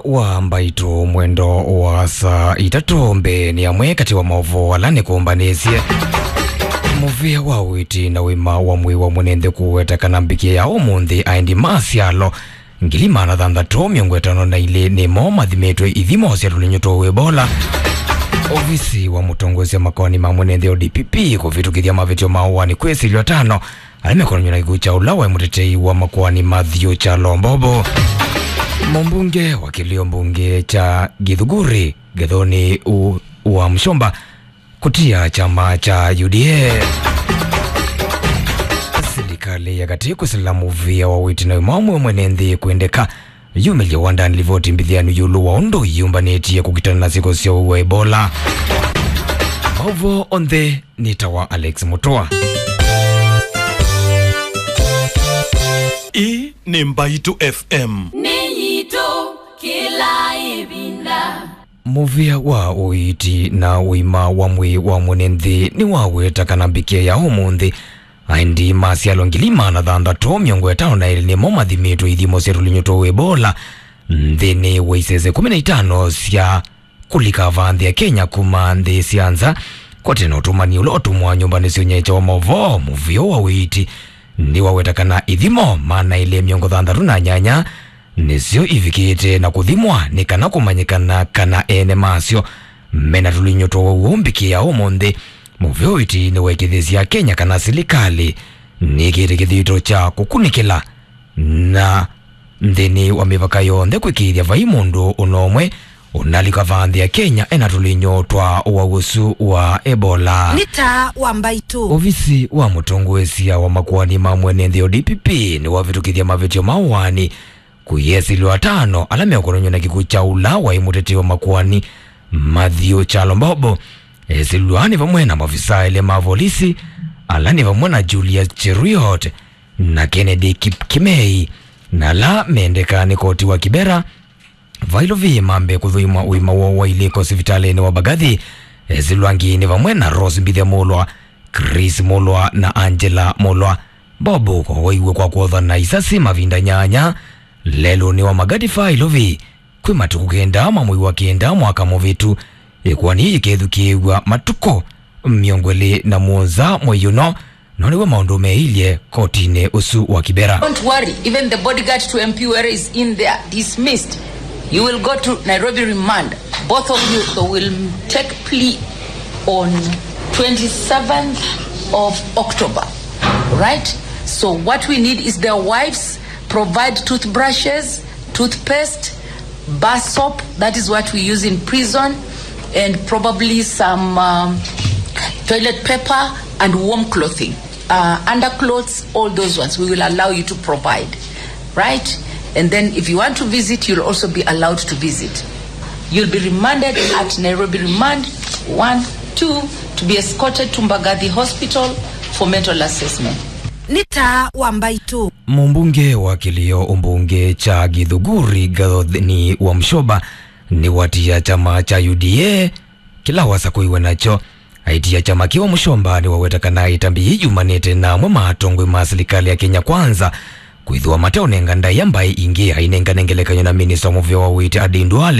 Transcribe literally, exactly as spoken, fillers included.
Wa mbaitũ mwendo wa saa itatũ mbee nĩ amwe katĩ wa maũvoo ala nĩkũmbanĩsye. Mũvĩa wa ũiiti na ũima wa mwĩĩ wa mwene nthĩ kũweta kana mbikĩ ya ũmũnthĩ aendi ma syalo ngili maana thanthatũ mĩongo ĩtano na ilĩ nĩmo mathimĩtwe ithimo sya tũlinyũ twa Ebola. Ovisi wa mũtongoesya makoani ma mwene nthĩ o D P P kũvĩtũkĩthya mavĩtyo ma ũaani kwĩsĩlwa tano ala mekonany'a na kĩkw'ũ kya ũla waĩ mũtetei wa makoani Matthew Kyalo Mbobo. Mũmbunge wa kĩlio mbunge kya Gĩthunguri Gĩthũnĩ u-, wa Mũsomba kũtia kyama kya U D A. Silikalĩ ya katĩ kwĩsĩla mũvĩa wa ũiiti na ũima wa mwĩĩ mwene nthĩ kwendeka yumĩlye wandani livoti mbĩthĩanu ĩũlũ wa ũndũ ĩyũmbanĩtye kũkitana na syĩko sya ũwau wa Ebola. Maũvoo onthe nĩ ta wa Alex Mũtũa. Ĩĩ nĩ Mbaitũ F M. Nĩ yitũ kĩla ĩvinda. Mũvĩa wa ũiiti na ũima wa mwĩĩ wa mwene nthĩ nĩwaweta kana mbikĩa ya ũmũnthĩ aendi ma syalo ngili maana thanthatũ mĩongo ĩtano na elĩ nĩmo mathimĩtwe ithimo sya tũlinyũ twa Ebola nthĩnĩ wa isese kũmi na itano sya kũlika vaa nthĩ ya Kenya kuma nthĩ sya nza. Kwa tene ũtũmani ũla ũtũmwa nyũmbanĩ sya ũnyaĩĩkya wa maũvoo, mũvĩa wa ũiiti nĩwaweta kana ithimo maana elĩ mĩongo thanthatũ na nyanya nĩsyo ivikĩte na kũthimwa nĩ kana kũmanyĩkana kana ene masyo mena tũlinyũ twa ũwau mbikĩa ũmũnthĩ. Mũvĩa wa ũiiti nĩwaĩkĩĩthya Akenya kana silikalĩ nĩkĩte kĩthito kya kũkunĩkĩla na nthĩnĩ wa mĩvaka yonthe kwĩkĩĩthya vai mũndũ ũna ũmwe ũnalika vaa nthĩ ya Kenya ena tũlinyũ twa ũwau ũsu wa Ebola. Nĩ ta wa mbaitũ. Ovisi wa mũtongoesya wa makoani ma mwene nthĩ o D P P nĩwavĩtũkĩthya mavĩtyo ma ũaani kũyĩesĩlwa atano ala meũkonany'a na kĩkw'ũ kya ũla waĩ mũtetei wa makoani Matthew Kyalo Mbobo. Esĩlwa nĩ vamwe na maofisa elĩ ma volisi, ala nĩ vamwe na Julius Cheruiyot na Kennedy Kipkimei, na ala mendeka nĩ koti wa Kibera. Vailovi mambe kũthũimwa ũima woo wa ilĩko sivitalĩnĩ wa Mbagathi. Esĩlwa angĩ nĩ vamwe na Rose Mbithe Mulwa, Chris Mulwa na Angela Mulwa. Bob wawaiwe kwa kwothana isasi mavinda nyanya lelũnĩ wa Magadi Failovi kwĩ matukũ kenda ma mwei wa kenda mwaka mũvĩtu. Ĩkoani yĩkethukĩĩw'a matukũ mĩongo ĩlĩ na mũonza mwei ũno, no nĩw'o maũndũ meilye kotinĩ ũsu wa Kibera. Don't worry, even the bodyguard to M P Were is in there, dismissed. You will go to Nairobi remand. Both of you will take plea on twenty-seventh of October, right? So what we need is their wives provide toothbrushes, toothpaste, bar soap, that is what we use in prison, and probably some um, toilet paper and warm clothing, uh, underclothes, all those ones we will allow you to provide, right? And then if you want to visit, you'll also be allowed to visit. You'll be remanded at Nairobi Remand one, two, to be escorted to Mbagathi Hospital for mental assessment. Nĩ ta wa mbaitũ. Mũmbunge wa kĩlio ũmbunge kya Gĩthũngũri Gathoni wa Mũsyoba nĩwatia kyama kya U D A kĩla wasakũiwe nakyo. Aitia kyama kĩu Mũsyoba nĩwaweta kana ĩtambya yĩĩ yumanĩte na amwe ma atongoi ma silikalĩ ya Kenya Kwanza kwĩthĩwa mateũnenga ndaĩa mbaĩ ingĩ ainengane ngelekany'o na minista wa mũvĩa wa ũiiti Aden Duale